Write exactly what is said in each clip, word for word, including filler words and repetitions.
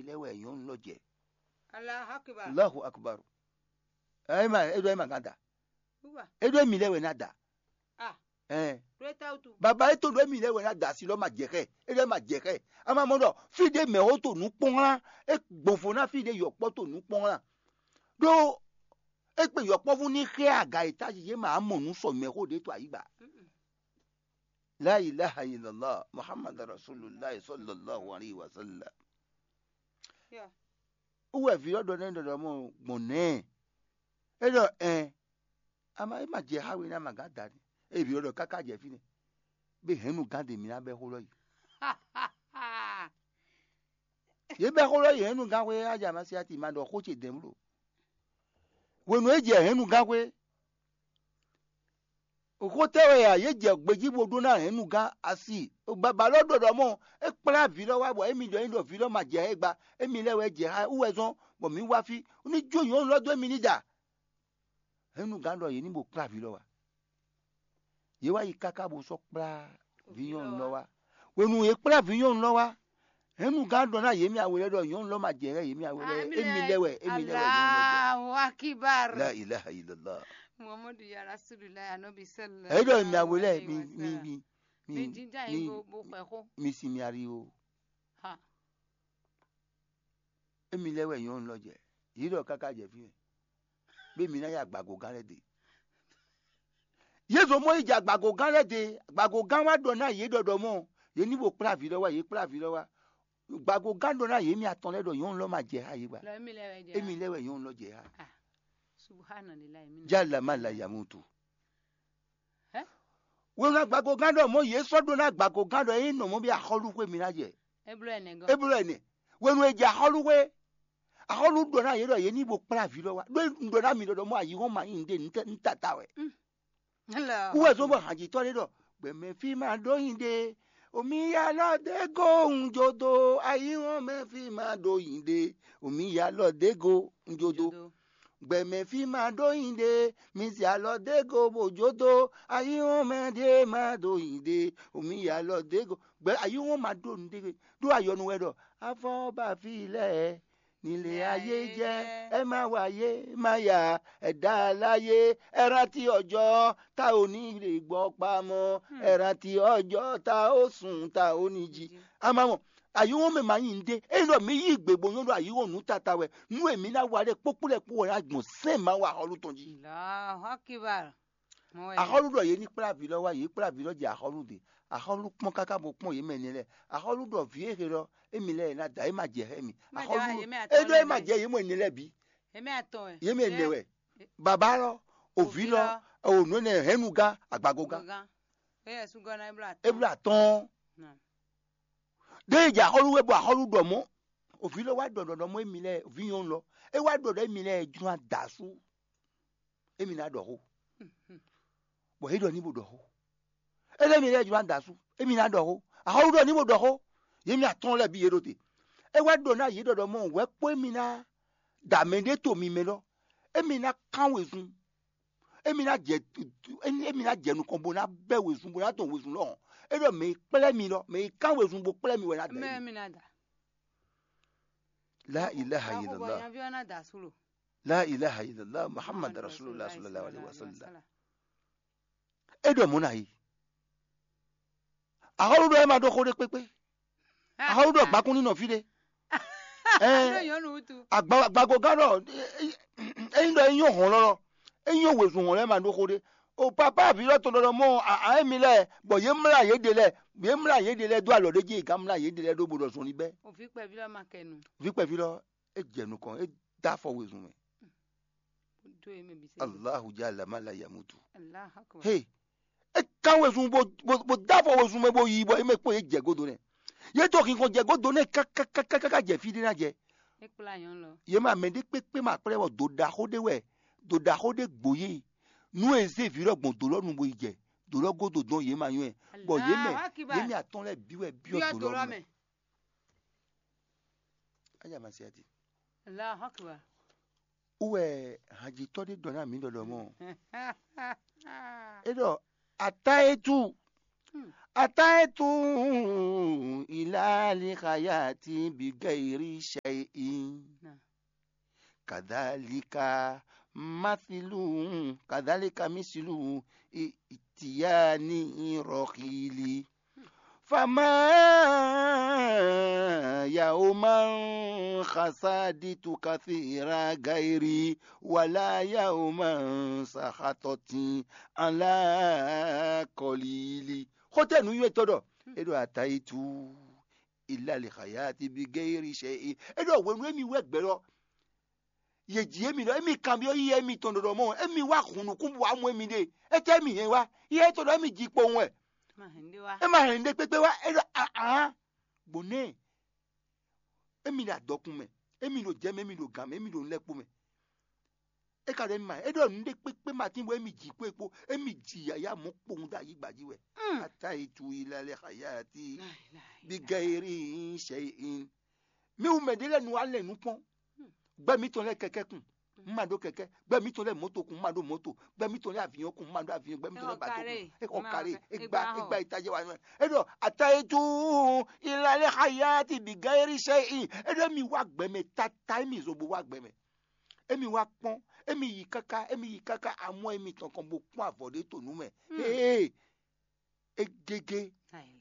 lɛ́ɛ wɛ nyɔ̌nu lɔ jɛ. Allahu akbar. Allahu akbar. Ɛ ma, é ɖɔ é ma gán da. Uwa. É ɖɔ émí lɛ́ɛ wɛ ná da. Ah, Ɛn. Ɖo é ta wutu. Baba é to ɖɔ émí lɛ́ɛ wɛ ná da asi lɔ ma jɛ xɛ. É ɖɔ é ma jɛ xɛ. A ma mɔ ɖɔ fí ɖé mɛ wo to nǔ kpɔ́n lá. É gbɔn fo ná fí ɖé yɔkpɔ́ to nǔ kpɔ́n lá. Ɖó é kpe yɔkpɔ́vú ní xɛ aga e tají yě ma mɔ nǔ sɔ mɛ xó ɖě to ayǐgba. Mm-mm. La ilaha illallah Muhammad Rasulullah sallallahu alaihi wasallam. Yeah. Wú wɛ vǐ ɔ́ ɖɔ nɛ́ ɖɔ ɖɔ mɔ gbɔn nɛ́. É ɖɔ ɛn. Ama é ma jɛ xá we ní ama gǎn da ní. Ée vǐ ɔ́ ɖɔ káká jɛ fínɛ́. Bé hɛ̌nnu gán ɖe mǐ ná bɛ́ xó lɔ yi. Yě bɛ́ xó lɔ yi hɛ̌nnu gán xwé á jɛ amasiati ma ɖɔ xó ce dɛ̌n bló. Hwenu e jɛ hɛ̌nnu gán xwé, xó tɛ́ wɛ a yě jɛ gbejí bó ɖó ná hɛ̌nnu gán asi? Baba lɔ ɖɔ ɖɔ mɔ é kplá vǐ lɔ wá bɔ émí ɖɔ é ɖɔ vǐ lɔ ma jɛ xá gba. Émí lɛ́ wɛ jɛ xá wú wɛ zɔ́n bɔ mǐ wá fí ní jó nyɔ̌nu lɔ dó émí ní da. Hɛ̌nnu gán ɖɔ yě ní bó kplá vǐ lɔ wá. Yě wá yi káká bó sɔ́ kplá vǐ nyɔ̌nu lɔ wá. Hwenu yě kplá vǐ nyɔ̌nu lɔ wá, hɛ̌nnu gán ɖɔ ná yě mì awe lɛ́ɛ ɖɔ nyɔ̌nu lɔ ma jɛ xá yě mì awe lɛ́ɛ. Émí lɛ́ wɛ émí lɛ́ wɛ nyɔ̌nu lɔ jɛ. Allahu akbar. La ilaha illallah. Muhammadu ya rasulullah anabi sallallahu. Èyí ɖɔ mi awe lɛ mi mi mi mi jija yi bo bo xɔ xo. Mi si mi ari o. Ha. Émi lɛ́ wɛ nyɔ̌nu lɔ jɛ. Yě ɖɔ káká jɛ fí mɛ. Bé mi ná yá gbàgògán lɛ́ɛ ɖe. Yě zɔ mɔ yi jɛ agbagogán lɛ́ɛ ɖe. Agbagogán wá ɖɔ ná yě ɖɔɖɔ mɔ yě ní bo kplá vǐ lɔ wá, yě kplá vǐ lɔ wá. Gbagogán ɖɔ ná yě mi atɔn lɛ́ɛ ɖɔ nyɔ̌nu lɔ ma jɛ xá yě gba. Lɔ émi lɛ wɛ jɛ. Émi lɛ́ wɛ nyɔ̌nu lɔ jɛ xá. Ah, subhanallah, émi. Jala ma la yamutu. Hɛ? Wěwé agbagogán ɖɔ mɔ yě sɔ́ ɖó ná agbagogán ɖɔ é nɔ mɔ bí axɔ́lúxwé mi ná jɛ. Eblo ɛnɛ gɔ́. Eblo ɛnɛ. Wěwé jɛ axɔ́lúxwé. Axɔ́lú ɖɔ ná yě ɖɔ yě ní bo kplá vǐ lɔ wá. Ɖó un ɖɔ ná mi ɖɔ ɖɔ mɔ ayǐhɔ́n ma nyí nǔɖé nǔ tata wɛ. Wú wɛ zɔ́n bɔ hanjitɔ́ ɖé ɖɔ gbɛmɛ fí ma ɖó nyi ɖe, omi ya lɔ dé go un jó dó, ayǐhɔ́n mɛ fí ma ɖó nyi ɖe, omi ya lɔ dé go un jó dó. Gbɛmɛ fí ma ɖó nyi ɖe, mi zɛ alɔ dé go bó jó dó, ayǐhɔ́n mɛ ɖé ma ɖó nyi ɖe, omi ya lɔ dé go. Gbɛ ayǐhɔ́n ma ɖó nǔ ɖé ɖó ayɔnu wɛ ɖɔ afɔ ba fí lɛ́ɛ. Nílé ayé jẹ́, ẹ má wáyé má yá, ẹ dá láyé, ẹ rántí ọjọ́ tá ò ní lè gbọ́ pamọ́, ẹ rántí ọjọ́ tá ò sùn tá ò ní jí. Àmọ́ mọ̀, àyíwọ́n mẹ́ máa yìn dé, èyí lọ mí yí ìgbè bó yán lọ àyíwọ́n nù tata wẹ̀, nú èmi ná wa lẹ́ kpókpó lẹ́ kpó wẹ̀ ná gbọ̀n sẹ́ẹ̀ máa wà xɔlú tɔn jí. Allahu Akbar. Axɔ́lú ɖɔ yě ní kplá vǐ lɔ wá, yě kplá vǐ lɔ jɛ axɔ́lú ɖe. Axɔ́lú kpɔ́n káká bó kpɔ́n yě mɛ nɛ lɛ́ɛ. Axɔ́lú ɖɔ vǐ e xe lɔ émi lɛ́ɛ ná da é ma jɛ xá mi. Axɔ́lú é ɖɔ é ma jɛ yě mɔ nɛ lɛ́ɛ bǐ. Yě mɛ nɛ wɛ. Baba lɔ, òvǐ lɔ, ònú nɛ hɛnnu gán, agbago gán. É bló atɔ́n. Ɖé e jɛ axɔ́lú wɛ bɔ axɔ́lú ɖɔ mɔ̌. Òvǐ lɔ wá ɖɔ ɖɔ mɔ émi lɛ́ɛ, òvǐ nyɔ̌nu lɔ. É wá ɖɔ ɖɔ émi lɛ́ɛ jló adǎ sú. Émi ná ɖɔ xó. Bɔ é ɖɔ ní bó ɖɔ xó. É lɛ́ mi lɛ́ɛ jló ná da asú. Émi ná ɖɔ xó. Axɔ́lú ɖɔ ní bó ɖɔ xó. Yě mi atɔ́ɔ́n lɛ́ɛ bǐ yě ɖo te. É wá ɖɔ ná yě ɖɔ ɖɔ mɔ wɛ̌ kpó émi ná da mɛ ɖé to mi mɛ lɔ. Émi ná kán wezun. Émi ná jɛ émi ná jɛ nukɔn bó ná bɛ́ wezun bó ná dɔn wezun lɔhɔn. É ɖɔ mɛ e kplɛ́ mi lɔ, mɛ e kán wezun bó kplɛ́ mi wɛ ná da. Mɛ émi. Mi ná da. La ilaha illallah. Nyaví ɔ́ ná da asú lo. La ilaha illallah Muhammad Rasulullah sallallahu alaihi wasallam. É ɖɔ mɔ̌ ná yi. Axɔ́lú ɖɔ é ma ɖó xó ɖé kpékpé. Axɔ́lú ɖɔ gbakún ní nɔ fí ɖé. Agbago gán ɖɔ é nyí ɖɔ é nyɔ́ hɔn lɔlɔ, é nyɔ́ wezun hɔn lɛ́ɛ ma ɖó xó ɖé. O papá vǐ lɔ tɔn ɖɔ mɔ a émi lɛ́ɛ bɔ yě mlá yě ɖe lɛ́ɛ, yě mlá yě ɖe lɛ́ɛ dó alɔ ɖé jí è gǎn mlá yě ɖe lɛ́ɛ ɖó bó ɖɔ zɔn ní bɛ́. Vǐ kpɛví lɔ ma kɛ nu. Vǐ kpɛví lɔ é jɛ nukɔn, é dó afɔ wezun mɛ. Allahu jalla ma la yamutu. He, é kán wezun bó bó dó afɔ wezun mɛ bó yi bɔ é mɛ kpó yě jɛ godo nɛ. Yě to xinkɔn jɛ godo nɛ kákákáká jɛ fí ɖé ná jɛ. Yě ma mɛ ɖé kpékpé ma kplɛ́ bɔ do ɖaxó ɖé wɛ, do ɖaxó ɖé gbo yé. Nú è zé vǐ lɔ gbɔn do lɔ nu bó yi jɛ do lɔ godo dɔn yě ma nywɛ́, bɔ yě mɛ yě mɛ atɔn lɛ́ɛ bǐ wɛ byɔ́ do lɔ mɛ. Anya ma se ati. Allahu Akbar. Wú wɛ hanjitɔ́ ɖé ɖɔ ná mǐ ɖɔ ɖɔ mɔ. É ɖɔ ata e tú Ataitu ila li hayati bi gairi shay'in. Kadhalika mathilu kadhalika misilu itiyani rohili. Fama yauman khasaditu kathira gairi wala yauman sahatoti ala kolili. Xótɛ nǔnywɛ́tɔ́ ɖɔ é ɖo atayitu ilali hayati bi geyiri sɛ é ɖɔ hwenu émi wɛ gbɛ lɔ ye ji émi ɖɔ émi kanbyɔ́ yíyá émi tɔn ɖɔɖɔ mɔ émi wá hun nukún bɔ wá mɔ émi ɖe. Étɛ́ émi hɛn wá? Yíyá étɔn ɖɔ émi ji kpowun wɛ. É ma hɛn ɖé kpékpé wá. É ɖɔ ahan gbɔn nɛ́ émi ɖo adɔkun mɛ, émi ɖo jɛ mɛ, émi ɖo gǎn mɛ, émi ɖo nulɛ́kpo mɛ. É ka ɖɔ émi ma é ɖɔ nǔ ɖé kpékpé ma tín bɔ émi ji kpó é kpó émi ji yǎyá mɔ̌ kpowun dó ayǐgba jí wɛ. Ata yi tu yi la lɛ xayati bí gɛ́ eré sɛ in. Mi wú mɛ ɖé lɛ́ɛ nu wá lɛ nǔ kpɔ́n. Gbɛ́ mǐtɔn lɛ́ɛ kɛkɛ́ kun, un ma ɖó kɛkɛ́. Gbɛ́ mǐtɔn lɛ́ɛ mɔ̌to kun, un ma ɖó mɔ̌to. Gbɛ́ mǐtɔn lɛ́ɛ aviɔn kun, un ma ɖó aviɔn. Gbɛ́ mǐtɔn lɛ́ɛ bato kun, é xɔ karé, é gba é gba itajɛ wa nɔ. É ɖɔ atayétu ilalɛ hayati bi gayeri sɛ in. É ɖɔ émi wá gbɛ mɛ tata, émi zo bo wá gbɛ mɛ. Émi wá kpɔ́n, émi yi káká, émi yi káká amɔ émi tɔn kɔn bo kpɔ́n avɔ ɖé to nǔ mɛ. Ee, é gégé.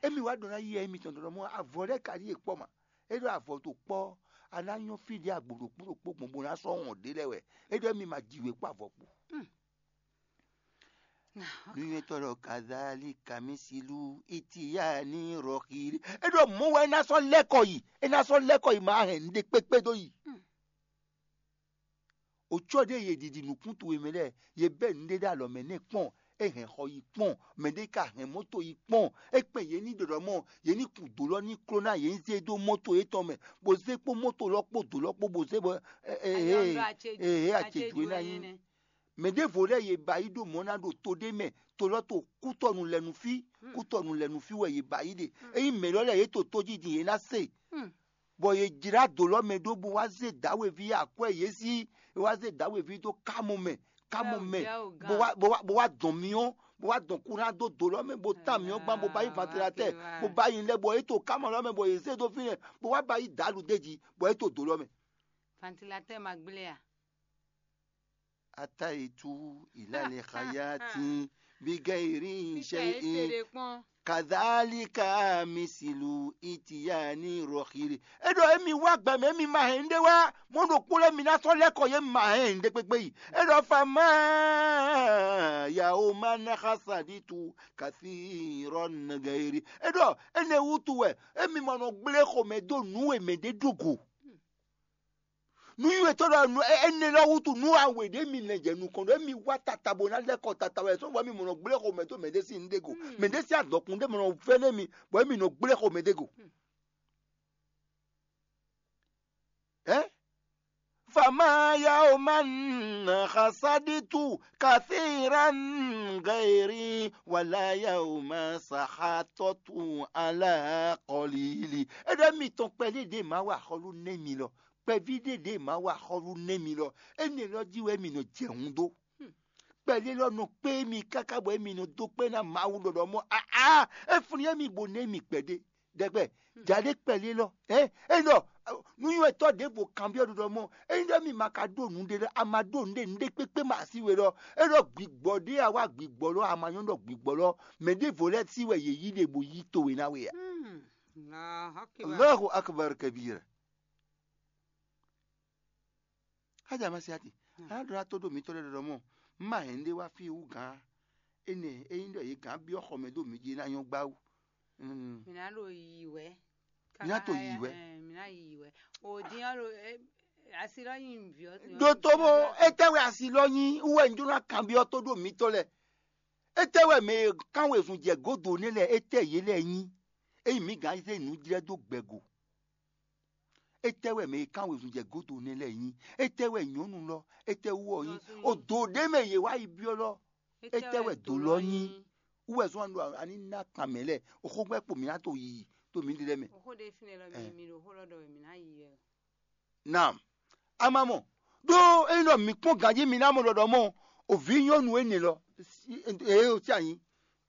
Émi wá ɖɔ ná yi émi tɔn ɖɔɖɔ mɔ avɔ lɛ́ɛ ka ɖíe kpɔ́ ma. É ɖɔ avɔ to kpɔ́, a ná nyɔ́ fí ɖě agbo ɖokpó ɖokpó gbɔn bó ná sɔ́ wɔn ɖě lɛ́ɛ wɛ. É ɖɔ émi ma ji wě kpó avɔ kpo. Nuyɔtɔ ɖɔ kazali kamisilu itiyani rɔxiri. É ɖɔ mɔ̌ wɛ é ná sɔ́ lɛ́kɔ yi, é ná sɔ́ lɛ́kɔ yi ma hɛn nǔɖé kpékpé dó yi. Wǒ cɔ́ ɖé yě ɖiɖi nǔkún towe mɛ lɛ́ɛ, yě bɛ́ nǔɖé ɖó alɔ mɛ nɛ́ kpɔ́n, é hɛn xɔ yi kpɔ́n, mɛɖé ka hɛn mɔ̌to yi kpɔ́n. É kpɛn yě ní ɖɔɖɔ mɔ yě ní kun dǒ lɔ ní kló ná yě ní zé dó mɔ́to yětɔn mɛ, bó zé kpó mɔ́to lɔ kpó dǒ lɔ kpó bó zé bɔ ee acéjú é ná nyí. Mɛ ɖěvo lɛ́ɛ yě ba yi ɖó mɔ̌ ná ɖo to ɖé mɛ, to lɔ to kútɔnu lɛ nú fí, kútɔnu lɛ nú fí wɛ yě ba yi ɖe. Ényí mɛ lɔ lɛ́ɛ yě to tójí din yě ná se, bɔ yě jlá do lɔ mɛ ɖó bó wá zé dǎwe ví akwɛ́ yě sí, bó wá zé dǎwe ví dó kámɔ mɛ, kámɔ mɛ, bó wá bó wá bó wá dɔn myɔ, bó wá dɔn kúná dó do lɔ mɛ, bó tá myɔ gbán, bó ba yi vantilatɛ, bó ba yi lɛ, bɔ é to kámɔ lɔ mɛ, bɔ yě zé dó fínɛ́, bó wá ba yi dǎlu d'é jí, bɔ é to do lɔ mɛ. Vantilatɛ ma gblé a? Ataitu ilali hayati bigayiri shay'in. Kadhalika misilu itiyani rohiri. É ɖɔ émi wá gbɛ mɛ émi ma hɛn ɖé wá, mɔ ɖokpó lɛ́ɛ mi ná sɔ́ lɛ́ kɔ yě ma hɛn ɖé kpékpé yi. É ɖɔ fama yawo ma ná xasaditu kasi rɔ nagayiri. É ɖɔ énɛ́ wútu wɛ émi ma nɔ gblé xomɛ dó nǔ e mɛ ɖé ɖó go. Nú nywɛ́tɔ́ ɖɔ nú énɛ́ lɔ wútu nú awe ɖě mi lɛ́ jɛ nukɔn ɖɔ émi wá tata bó ná lɛ́ kɔ tata wɛ sɔ́ bɔ émi mɔ nɔ gblé xomɛ dó mɛɖé sín nǔ ɖé go, mɛɖé sín adɔkun ɖé mɔ nɔ vɛ́ nú émi bɔ émi nɔ gblé xomɛ ɖé go. Ɛ? Fama yawo ma nà xasaditu kathiran gairi wala yawo ma sahatɔtu ala kɔlili. É ɖɔ émi tɔn kpɛɖé ɖě ma wa xɔlú nɛ́ mi lɔ, kpɛví ɖé ɖě ma wa xɔlú nɛ́ mi lɔ, énɛ́ lɔ jí wɛ mi nɔ jɛ hun dó. Kpɛɖé lɔ nɔ kpé mi káká bɔ émi nɔ dó kpé ná Mawu ɖɔɖɔ mɔ aa é flín émi bó nɛ́ mi kpɛɖé ɖɛgbɛ. Jaɖé kpɛɖé lɔ ɛ é ɖɔ nú nywɛ́tɔ́ ɖěvo kanbyɔ́ ɖɔɖɔ mɔ é ɖɔ mi ma ka ɖó nǔɖé lɔ a ma ɖó nǔɖé nǔɖé kpékpé ma así we lɔ é ɖɔ gbigbɔ ɖé a wá gbigbɔ lɔ a ma nyɔ́ ɖɔ gbigbɔ lɔ mɛ ɖěvo lɛ́ɛ sí wɛ yě yí ɖe bó yí towe ná we a. Allahu akbar kabira. Hádza Masiati, a nǎ ɖɔ ná tó ɖo mitɔ́ lɛ́ɛ ɖɔɖɔ mɔ, un ma hɛn ɖé wá fí wú gǎn énɛ́ é nyí ɖɔ yě gǎn byɔ́ xɔ mɛ ɖó mi jí é ná nyɔ́ gbá wú. Mǐ ná ɖo yiyi wɛ. Mǐ ná to yiyi wɛ. Mǐ ná yiyi wɛ. O dín ɔ́ ɖo asi lɔ nyi nǔví ɔ́. Ɖo tó bó étɛ́ wɛ asi lɔ nyí wú wɛ un jló ná kanbyɔ́ tó ɖo mitɔ́ lɛ́ɛ. Étɛ́ wɛ mɛ e kán wezun jɛ gǒdo nɛ́ lɛ́ɛ étɛ́ yě lɛ́ɛ nyí? Ényí mǐ gǎn zé nǔ jlɛ́ dó gbɛ̌go. Étɛ́ wɛ mɛ e kán wezun jɛ gǒdo nɛ́ lɛ́ɛ nyí? Étɛ́ wɛ nyɔ̌nu lɔ? Étɛ́ wú ɔ́ nyí? O dǒ ɖé mɛ yě wá yi byɔ́ lɔ. Étɛ́ wɛ dǒ lɔ nyí? Wú wɛ zɔ́n ɖo aní ná kan mɛ lɛ́ɛ. Oxó gbɛ́ kpo mǐ ná to yiyi to mǐ ɖe lɛ́ɛ mɛ. Oxó ɖé fínɛ́ lɔ mi mi ɖo xó lɔ ɖɔ wɛ mǐ ná yi wɛ. Naam. A ma mɔ ɖó ényí ɖɔ mǐ kpɔ́n ganjí mi ná mɔ ɖɔɖɔ mɔ o vǐ nyɔ́nu énɛ́ lɔ eye o sí anyi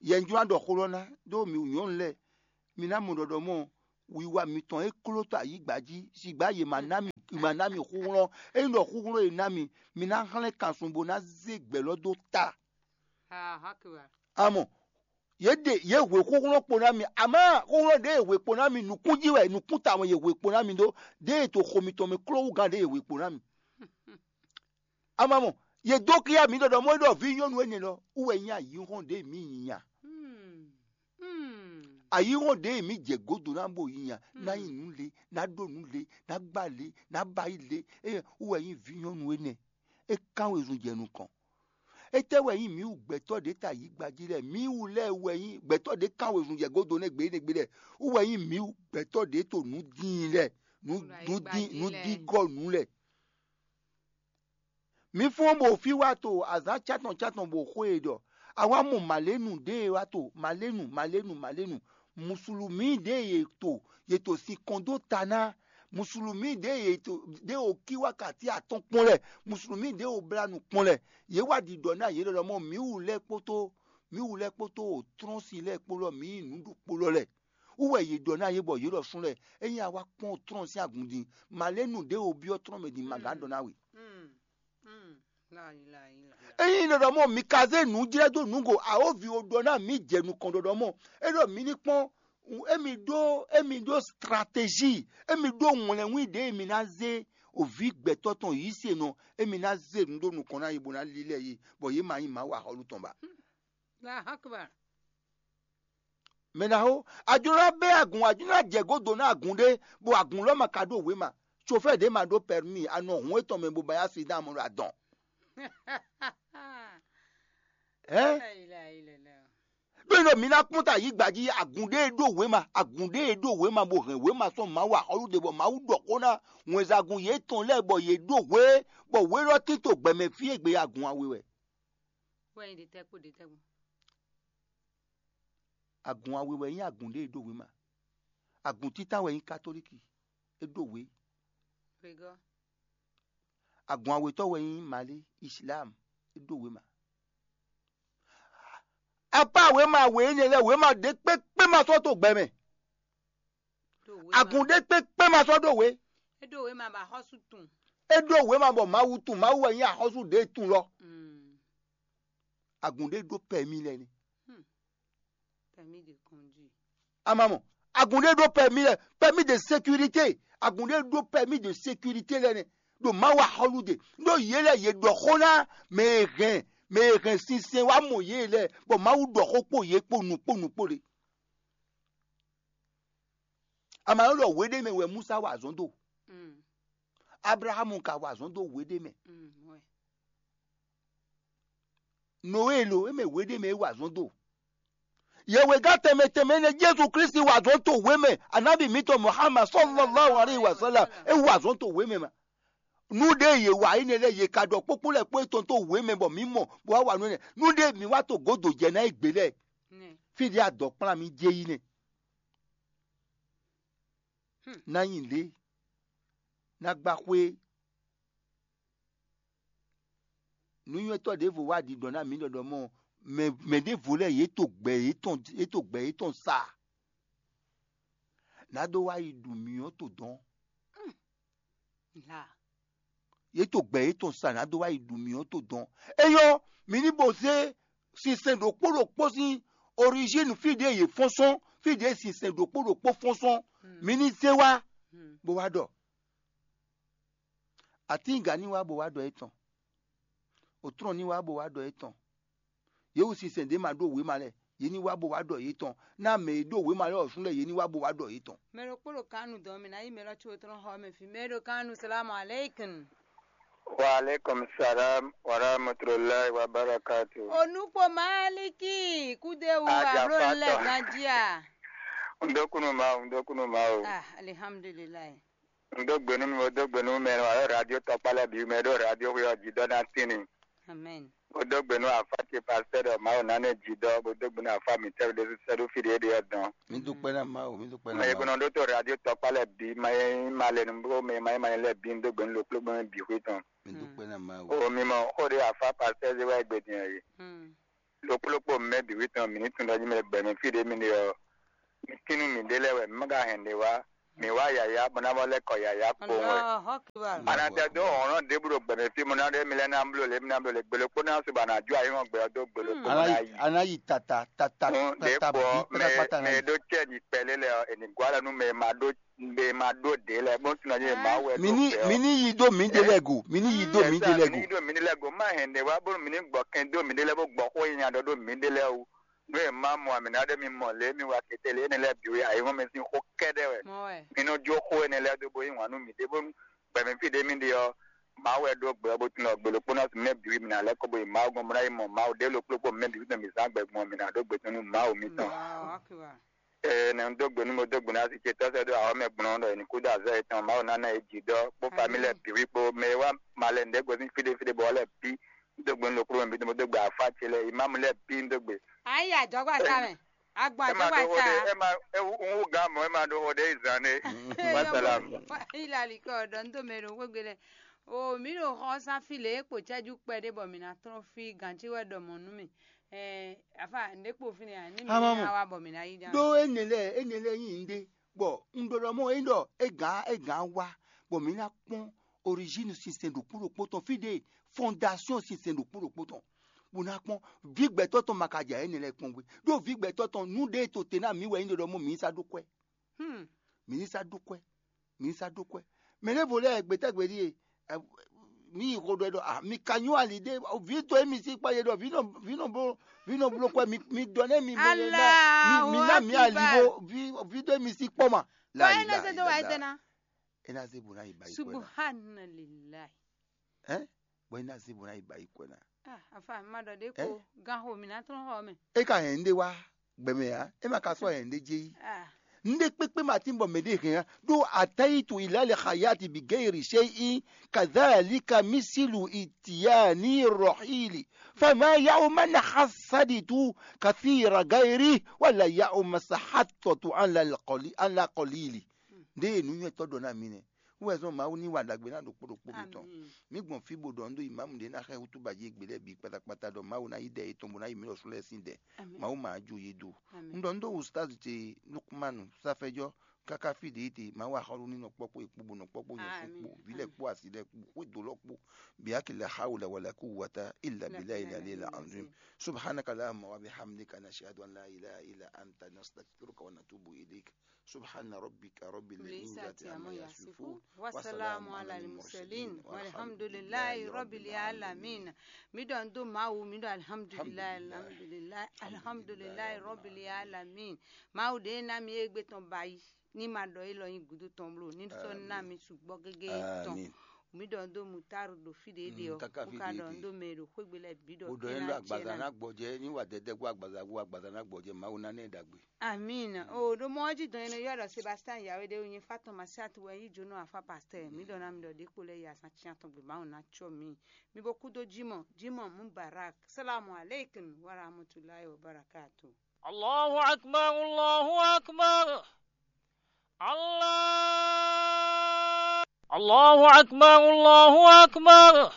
Yɛ un jló ná ɖɔ xó lɔ ná ɖó mi nyɔ̌nu lɛ́ɛ, mi ná mɔ ɖɔɖɔ mɔ wiwa mitɔn e kló tɔ ayǐgba jí, sigba yě ma ná mi, ma ná mi xúxlɔ́. Ényí ɖɔ xúxlɔ́ e ná mi, mi ná hlɛ́n kansun bó ná zé gbɛ̌ lɔ dó ta. Amɔ yě ɖe yě hwe xúxlɔ́ kpo ná mi, amá xúxlɔ́ ɖě e hwe kpo ná mi nǔkún jí wɛ, nǔkún tawun yě hwe kpo ná mi ɖó, ɖěe to xo mitɔn mɛ kló wú gán ɖě e hwe kpo ná mi. Amamɔ, yě dó kíyá mǐ ɖɔɖɔ mɔ é ɖɔ vǐ nyɔ́nu énɛ́ lɔ wú wɛ nyí ayǐhɔ́n ɖě mǐ nyi nya. Ayǐhɔ́n ɖě mǐ jɛ gǒdo ná bo yi nya, ná nyi nǔ le, ná ɖó nǔ le, ná gbá le, ná ba yí le, é wú wɛ nyí vǐ nyɔ́nu énɛ́. É kán wezun jɛ nukɔn. Étɛ́ wɛ nyí mǐ wú gbɛtɔ́ ɖě ta yǐgba jí lɛ́ɛ? Mǐ wú lɛ́ɛ wɛ nyí gbɛtɔ́ ɖě kán wezun jɛ gǒdo nɛ́ gbe énɛ́ gbe lɛ́ɛ. Wú wɛ nyí mǐ wú gbɛtɔ́ ɖě to nǔ dín lɛ́ɛ, nǔ nǔ dín nǔ dín gɔ́ nǔ lɛ́ɛ. Mǐ fɔ́n bɔ fí wá to azǎn cántɔn cántɔn bɔ xó e ɖɔ a wá mɔ mǎlénu ɖě e wá to mǎlénu mǎlénu mǎlénu. Musulumi ɖě e to yě to sin kɔn dó ta ná, musulumi ɖě e to ɖě o kí wákàtí atɔn kpɔ́n lɛ, musulumi ɖě o blá nu kpɔ́n lɛ. Yě wá ɖiɖɔ ná yě ɖɔɖɔ mɔ mǐ wú lɛ́ɛ kpótó mǐ wú lɛ́ɛ kpótó o trɔ́n sin lɛ́ɛ kpó lɔ mǐ nyí nǔ ɖokpó lɔ lɛ́ɛ. Wú wɛ yě ɖɔ ná yě bɔ yě ɖɔ sún lɛ́ɛ, ényí a wá kpɔ́n o trɔ́n sín agun din, mǎlénu ɖě o byɔ́ trɔ́n mɛ din ma gǎn ɖɔ ná we. Ényí ɖɔɖɔ mɔ mi ka zé nǔ jlɛ́ dó nǔgo awǒvi o ɖɔ ná mǐ jɛ nukɔn ɖɔɖɔ mɔ é ɖɔ mi ní kpɔ́n émi ɖó émi ɖó stratégie, émi ɖó wlɛnwí ɖě mi ná zé òví gbɛtɔ́ tɔn yǐ se nɔ émi ná zé nǔ ɖó nukɔn ná yi bó ná lílɛ́ yi bɔ yě ma nyí Mawu axɔ́lú tɔn ba. Mɛ ná xó, a jló ná bɛ́ agun, a jló ná jɛ gǒdo ná agun ɖé, bɔ agun lɔ ma ka ɖó wěma. Sofɛ́ɛ ɖě ma ɖó pɛrmí, a nɔ hǔn étɔn mɛ bó ba yá si dán amɔ ɖo adɔn. Hɛn? Ɖó nɔ mi ná kpɔ́n ta yí gbají agun ɖé e ɖó wěma, agun ɖé e ɖó wěma bó hɛn wěma sɔ́ Mawu axɔ́lú ɖe bɔ Mawu ɖɔ xó ná wɛnsagun yětɔn lɛ́ɛ bɔ yě ɖó hwé, bɔ hwé lɔ tito gbɛmɛ fí e gbe agun awe wɛ. Wɛ nyi ɖetɛ́ kpó ɖetɛ́ kpó. Agun awe wɛ nyí agun ɖé e ɖó wěma. Agun títá wɛ nyí katolíki, é ɖó wě. Wegɔ́. Agun awetɔ́ wɛ nyí Mali, Islam, é ɖó wěma. Apá wěma we énɛ́ lɛ́ɛ wěma ɖé kpékpé ma sɔ́ to gbɛ mɛ. Agun ɖé kpékpé ma sɔ́ ɖó wě. É ɖó wěma bɔ axɔ́sú tun. É ɖó wěma bɔ Mawu tun, Mawu wɛ nyí axɔ́sú ɖě tun lɔ. Agun ɖé ɖó pɛmí lɛ́ɛ ni. Permis de conduire. Amamɔ, agun ɖé ɖó pɛmí lɛ́ɛ, permis de sécurité. Agun ɖé ɖó permis de sécurité lɛ́ɛ nɛ. Ɖo Mawu axɔ́lú ɖe. Ɖó yě lɛ́ɛ yě ɖɔ xó ná mɛ e hɛn mɛ e hɛn sinsɛn wá mɔ yě lɛ́ɛ, bɔ Mawu ɖɔ xó kpó yě kpó nu kpó nu kpó ɖe. Ama nɔ ɖɔ hweɖé mɛ wɛ Musa wa azɔn do. Abrahamu ka wa azɔn do hweɖé mɛ. Nowe lo, é mɛ hweɖé mɛ é wa azɔn do. Yɛwegán tɛnmɛ tɛnmɛ nɛ Jezu Kristi wa azɔn to hwe mɛ, anabi mitɔn Muhammad sallallahu alaihi wasallam é wa azɔn to hwe mɛ ma. Nú ɖé yě wa énɛ́ lɛ́ɛ yě ka ɖɔ kpókpó lɛ́ɛ kpó étɔn tó wě mɛ bɔ mǐ mɔ bó wá wa nú énɛ́. Nú ɖé mǐ wá to gǒdo jɛ ná é gbě lɛ́ɛ, fí ɖě adɔ̌ kplán mì jɛ yi nɛ́. Ná nyi lě, ná gbá xwé. Nǔnywɛ́tɔ́ ɖěvo wá ɖiɖɔ ná mǐ ɖɔɖɔ mɔ mɛ mɛ ɖěvo lɛ́ɛ yě to gbɛ yětɔn yě to gbɛ yětɔn sa. Nǎ ɖó wá yi ɖu mǐ ɔ́ to dɔ̌n. Yě to gbɛ yětɔn sa nǎ dó wá yi ɖu mǐ ɔ́ to dɔn. Éyɔ́, mǐ ní bo zé sinsɛn ɖokpó ɖokpó sín origine fí ɖě yě fɔ́n sɔ́n, fí ɖě sinsɛn ɖokpó ɖokpó fɔ́n sɔ́n, mǐ ní zé wá, bó wá ɖɔ. Atíngǎ ní wá bó wá ɖɔ étɔn. Òtrɔ́n ní wá bó wá ɖɔ étɔn. Yě wu sinsɛn ɖě ma ɖó wěma lɛ́ɛ, yě ní wá bó wá ɖɔ yětɔn. Ná mɛ e ɖó wěma lɛ́ɛ ɔ́ sún lɛ́ɛ, yě ní wá bó wá ɖɔ yětɔn. Mɛ ɖokpó ɖo kanu dɔn mɛ ná yi mɛ lɔ tso tɔn xɔ mɛ fi mɛ ɖo kanu salamu aleykum. Wa aleykum salam wa rahmatulahi wa barakatu. Onukpo Maliki kudewu alo lɛ ganjia. Ndokunu ma o, ndokunu ma o. Ah, alihamdulilayi. N dó gbe nú mi, bó dó gbe nú mɛ e nɔ wa ɖo radio tɔkpá lɛ́ɛ bǐ mɛ e ɖo radio xwé ɔ́ jí dɔ́ ná tín ni. Amen. Bó dó gbe nú afá ce pasitɛ́ ɖɔ Mawu ná nɛ jí dɔ́, bó dó gbe nú afá mǐtɛn ɖésú sɛ́ ɖó fí ɖě é ɖe ɔ́ dɔn. Mi dúpẹ́ ná Mawu, mi dúpẹ́ ná Mɛ e Mawu. Gbɔn ɖó tó radio tɔkpá lɛ́ɛ bǐ, ma e nyí ma lɛ nu bó mɛ ma nyí ma nyí lɛ́ɛ bǐ, n dó gbe nú ɖokpló gbɔn bǐ xwé tɔn. Mi dúpẹ́ ná Mawu. O mi mɔ xó ɖé afá pasitɛ́ zé wá é gbe din ɔ́ é. Ɖokpó ɖokpó mɛ bǐ wí tɔn mǐ ní tunwun ɖɔ jí mɛ gbɛ̌ mɛ fí ɖě mì ɖe ɔ́, mǐ tín nú mǐɖée lɛ́ɛ wɛ, mǐ má ka hɛn ɖě wá. Mǐ wá yǎyá bɔ ná vɔ lɛ́ kɔ yǎyá kpowun wɛ. Allahu Akbar. A nǎ tɛ dó hlɔ̌nhlɔ́n ɖěbǔ ɖo gbɛ̌ mɛ fí mɔ ná ɖé mi lɛ́ ná bló lě mi ná bló lě gbe ɖokpó ná su bɔ a nǎ jó ayǐhɔ́ngbe ɔ́ dó gbe ɖokpó mɔ ná yi. A ná yi tata tata. Ɖěbǔ ɔ́, mɛ e ɖó cɛ́ nyi kpɛlé lɛ́ɛ ɔ́, è nǐ gɔ́ alɔ nú mɛ e ma ɖó mɛ e ma ɖó ɖě lɛ́ɛ bó tunɔ nyí mɛ Mawu wɛ mi ɖó ní gbɛ ɔ́. Mi ní yi dó mǐɖée lɛ́ɛ go, mi ní yi dó mǐɖée lɛ́ɛ go. Mǐ ɖo mǐ ɖe lɛ́ɛ go má hɛn ɖě wá bónú mǐ ní gbɔ kɛn dó mǐɖée lɛ́ɛ bó gbɔ xó nyi nya ɖɔ ɖó mǐɖée lɛ́ɛ wú. Nú è má mɔ amǐ ná ɖé mi mɔ lě mi wa kete lě énɛ́ lɛ́ɛ bǐ wɛ ayǐhɔ́n mɛ sín xó kɛ́ɖɛ́ wɛ. Mɔ́ wɛ. Mi nɔ jó xó énɛ́ lɛ́ɛ dó bó yí wǎn nú mǐɖée bónú gbɛ̌ mɛ fí ɖě mi ɖe ɔ́, Mawu wɛ ɖó gbɛ ɔ́ bó tunɔ gbe ɖokpó ná mɛ bǐ wí mǐ ná lɛ́ kɔ bó yi Mawu gɔ́n bó ná yi mɔ Mawu ɖě ɖokpló kpó mɛ bǐ wí tɔn mǐ zán gbɛ gbɔn mǐ ná ɖó gbe tɔn nú Mawu mitɔn. Ee, nɛ un dó gbe nú mo dó gbe nú asi ce tɔ́ sɛ́ dó awɔ́ mɛ gbɔn ɖɔ è nǐ kú dó azɔ̌ yětɔn Mawu ná ná yě jǐ dɔ kpó famí lɛ́ɛ bǐ wí kpó mɛ e wá malɛ nǔɖé gozín fí ɖé fí ɖé bɔ wá lɛ́ɛ bǐ. Un dó gbe nú ɖokpló mɛ bǐ tɔn bó dó gbe afá ce lɛ́ɛ imámu lɛ́ɛ bǐ un dó gbe. Ayi ajɔgba ta mɛ. Agba ẹ máa ajɔgba ɖó xó ta. Ɖé ẹ máa ẹ wú un wú gán mɔ ẹ máa ɖó xó ɖé zan ɖé. Wasalam. Ilali kɔ ɖɔ un dó mɛ ɖo xwégbe lɛ. O mi ɖo xɔ sán fí lě kpo cɛ́jú kpɛɖé bɔ mǐ ná tlɔ́n fí gǎncí wɛ ɖɔ mɔ̌ nú mì. Ɛɛ afa nɖé kpo fínɛ́ a ní mi Ama ná mɔ. Wá bɔ mǐ ná yí dá. Ɖó énɛ́ lɛ́ɛ énɛ́ lɛ́ɛ nyí nɖé, bɔ un ɖɔ ɖɔ mɔ é ɖɔ é gǎn é gǎn wá, bɔ mǐ ná kpɔ́n origine sinsɛn ɖokpó ɖokpó tɔn fí ɖé, fondation sinsɛn ɖokpó ɖokpó tɔn, bó ná kpɔ́n vǐ gbɛtɔ́ tɔn ma ka jɛ énɛ́ lɛ́ɛ kpɔ́n gbé. Ɖó vǐ gbɛtɔ́ tɔn nú ɖé to te ná mǐ wɛ nyí ɖɔ ɖɔ mɔ mǐ sá ɖó kwɛ́. Hmm. Mǐ ní sá ɖó kwɛ́. Mǐ ní sá ɖó kwɛ́. Mɛ lɛ́ vo lɛ́ɛ gbetɛ́gbe ɖíe, ɛ, mǐ yi xo ɖɔ ɛ ɖɔ a mi ka nyú ali ɖé, vǐ to émi sí kpɔ́ yé ɖɔ vǐ nɔ vǐ nɔ bló vǐ nɔ bló kwɛ́ mi mi ɖɔ nɛ́ mi mɔ yɛ ná mi mi ná mi ali Allahu Akbar. Vo vǐ vǐ to émi sí kpɔ́ ma. Kɔ é ná zé dó wa é dé ná. É ná zé bó ná yi ba yi kwɛ́ ná. Subhanallah. Ɛ bɔ é ná zé bó ná yi ba yi kwɛ́ ná. Ah, afa ma ɖɔ ɖé ko gan xo mǐ ná tlɔ́n xɔ mɛ. É ka hɛn ɖé wá gbɛmɛ ǎ, é ma ka sɔ́ hɛn ɖé jɛ yí. Ah. Nɖé kpékpé ma tín bɔ mɛ ɖé hɛn á ɖó atayitu ilale hayati bi geyri shei kadhalika misilu itiyani rohili fama yauma na hasaditu kathira gayri wala yauma sahatɔtu ala qalili. Nɖé e nǔnywɛ́tɔ́ ɖɔ ná mi nɛ́. Wú wɛ zɔ́n Mawu ní wa ɖagbe ná ɖokpó ɖokpó mitɔn. Mǐ gbɔn fí bó ɖɔ un ɖó imamu ɖé ná xɛ hútúba jí égbé lɛ́ɛ bǐ kpatakpata ɖɔ Mawu ná yí ɖɛ yětɔn bó ná yi mǐ lɔ sú lɛ́ɛ sín ɖɛ. Mawu ma jó yé dó. Un ɖɔ un ɖó ustaz ce Lukmanu Safɛjɔ káká fí ɖě te Mawu axɔ́ɖó ní nɔ kpɔ́ kpó yě kpó bó nɔ kpɔ́ kpó nyɛ sú kpó vǐ lɛ́ɛ kpó asi lɛ́ɛ kpó xwédo lɔ kpó bǐ akila hawla wala kú wata illa billahi ilali la anzim. Subhanaka Allahumma wa bihamdika nashhadu an la ilaha illa anta nastaghfiruka wa natubu ilayk. Subhana rabbika rabbil izzati amma yasifun. Wasalamu ala al-mursalin. Walhamdulillahi rabbil alamin. Mi ɖɔ un do Mawu, mi ɖɔ alhamdulillahi, alhamdulillahi, alhamdulillahi rabbil alamin. Mawu ɖe ná mi égbé tɔn bayi. Ní ma ɖɔ élɔ́ nyí gǔdo tɔn bló, ní sɔ́ ná mi sugbɔ́ gégé tɔn. Mi ɖɔ un do mutaru ɖo fí ɖě ɖe ɔ́, káká fí ɖě ɖe. Ɖɔ un do mɛ ɖo xwégbe lɛ́ɛ bǐ ɖɔ. Ó ɖɔ é lɔ agbaza ná gbɔjɛ, ní wa dɛdɛ gbɔ agbaza gbɔ agbaza ná gbɔjɛ, Mawu ná nɛ ɖagbe. Amina. O ɖo mɔ ɔ́ jí dɔn énɛ́ ylɔ́ ɖɔ Sébastien Yawédé wɛ nyí fá tɔn Masiatu wɛ yí jónɔ afá pastɛ́. Mi ɖɔ ná mi ɖɔ ɖě kpo lɛ́ yi azán cyán tɔn gbe Mawu ná cyɔ mi. Mi bo kúdó Jimɔ, Jimɔ Mubarak. Salamu alaikum wa rahmatulahi wa barakatu. Allahu akbar, Allahu akbar. Allah. Allahu akbar, Allahu akbar.